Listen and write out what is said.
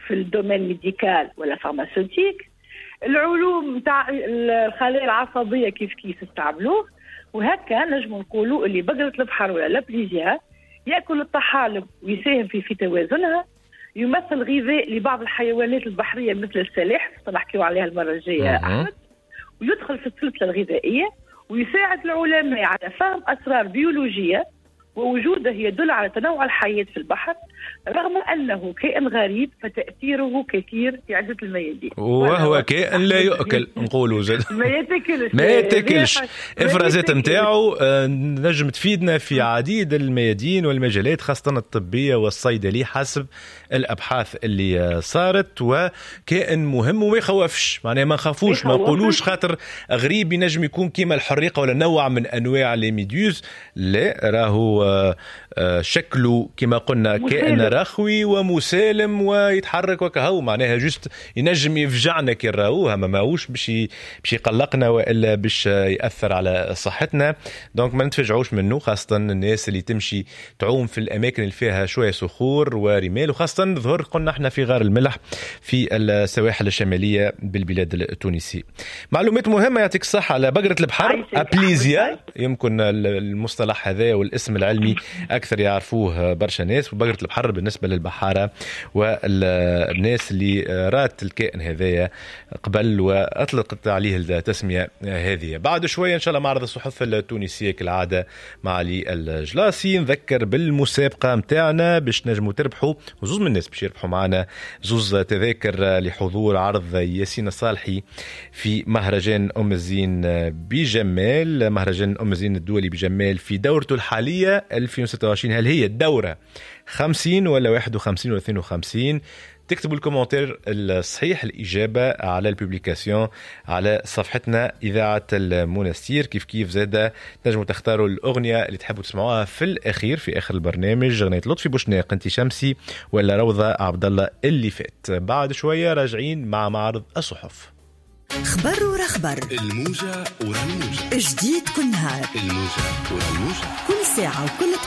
في ال domaine médical ولا pharmaceutique. العلوم تاع الخلايا العصبية كيف كيف استعملوه. وهكا نجم نقولوا اللي بقرة البحر ولا l'Aplysia ياكل الطحالب ويساهم في توازنها، يمثل غذاء لبعض الحيوانات البحرية مثل السلاحف، نحكيو عليها المرة الجاية احمد، ويدخل في السلسلة الغذائية، ويساعد العلماء على فهم اسرار بيولوجية، ووجوده يدل على تنوع الحياة في البحر، رغم أنه كائن غريب فتأثيره كثير في عدة الميادين. وهو كائن لا يؤكل، نقولوا زاد ما يتاكلش. ما يتاكلش. افرازات نتاعو نجم تفيدنا في عديد الميادين والمجالات، خاصة الطبية والصيدلي حسب الأبحاث اللي صارت. وكائن مهم وما يخوفش، معناها ما نخافوش، ما نقولوش خاطر غريب ينجم يكون كيما الحريقة ولا نوع من أنواع les méduses. لا، راهو شكله كما قلنا كائن رخوي ومسالم ويتحرك وكهو، معناها juste ينجم يفجعنا كي نراوه، ما ماهوش باش يقلقنا والا باش ياثر على صحتنا. donc ما نتفجعوش منه، خاصة الناس اللي تمشي تعوم في الاماكن اللي فيها شوية صخور ورمال، وخاصة ظهر قلنا احنا في غار الملح في السواحل الشمالية بالبلاد التونسي. معلومات مهمة، يعطيك الصحة على بقرة البحر Aplysia، يمكن المصطلح هذا والاسم العلمي اكثر يعرفوه برشا ناس. وبقرة البحر بالنسبة للبحارة والناس اللي رات الكائن هذايا قبل وأطلقت عليه التسمية هذه. بعد شوية إن شاء الله معرض الصحف التونسية كالعادة مع علي الجلاسي. نذكر بالمسابقة متاعنا باش نجموا تربحوا، وزوز من الناس باش يربحوا معنا زوز تذاكر لحضور عرض ياسين الصالحي في مهرجان أم الزين بجمال، مهرجان أم الزين الدولي بجمال في دورته الحالية 2026. هل هي الدورة 50 ولا 51 ولا 52؟ تكتبوا ال commentaire الصحيح الإجابة على ال publication على صفحتنا إذاعة المنستير. كيف كيف زادة تنجموا تختاروا الأغنية اللي تحبوا تسمعوها في الأخير في آخر البرنامج، أغنية لطفي بوشناق أنت شمسي ولا روضة عبد الله اللي فات. بعد شوية راجعين مع معرض الصحف. خبر ورا خبر، الموجة ورا الموجة، جديد كل نهار، الموجة ورا الموجة، كل ساعة وكل دقيقة.